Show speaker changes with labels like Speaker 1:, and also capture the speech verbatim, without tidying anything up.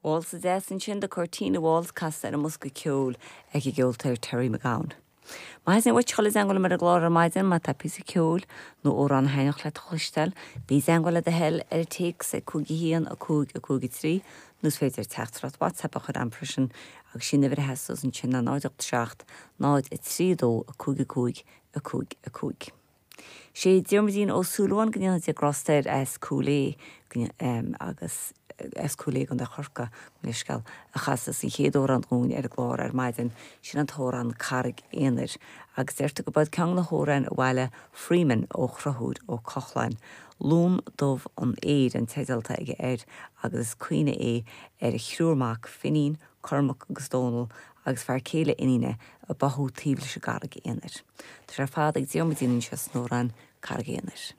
Speaker 1: Válsa deas ansin The Cortina Waltz casta ar an mbosca ceoil ag an gceoltóir Terry McGowan. Má theastaíonn uait dul i dteagmháil liom ar an gclár ar maidin má tá píosa ceoil nó amhrán a thaitneodh leat a chloisteáil, bí i dteagmháil le do thoil ar an téacs ag cúig a haon a cúig a cúig a trí nó is féidir teachtaireacht WhatsApp a chur agam freisin agus sin uimhir a theastas ansin ná náid ocht seacht náid a trí dó a cúig a cúig a cúig a cúig. Sé Diarmuidín Ó Súilleabháin go ndéana Dia grásta air as Cúil Aodha agus as Cúil Aodha gContae Chorcaí leithscéal a chas an chéad amhrán dúinn ar an gclár ar maidin sin an t-amhrán Carraig Aonair agus deirtear gurb é ceann de na hamhráin a bhailigh Freeman ó Chonchúr Ó Cochláin. Lún dubh an aeir an teideal atá aige air agus is cuimhne é ar a thriúr mac Finín, Cormac agus Dónal agus fear céile iníne a báthadh taobh leis an gCarraig Aonair. Tá sé ar fad ag Diarmuidín anseo san amhrán Carraig Aonair.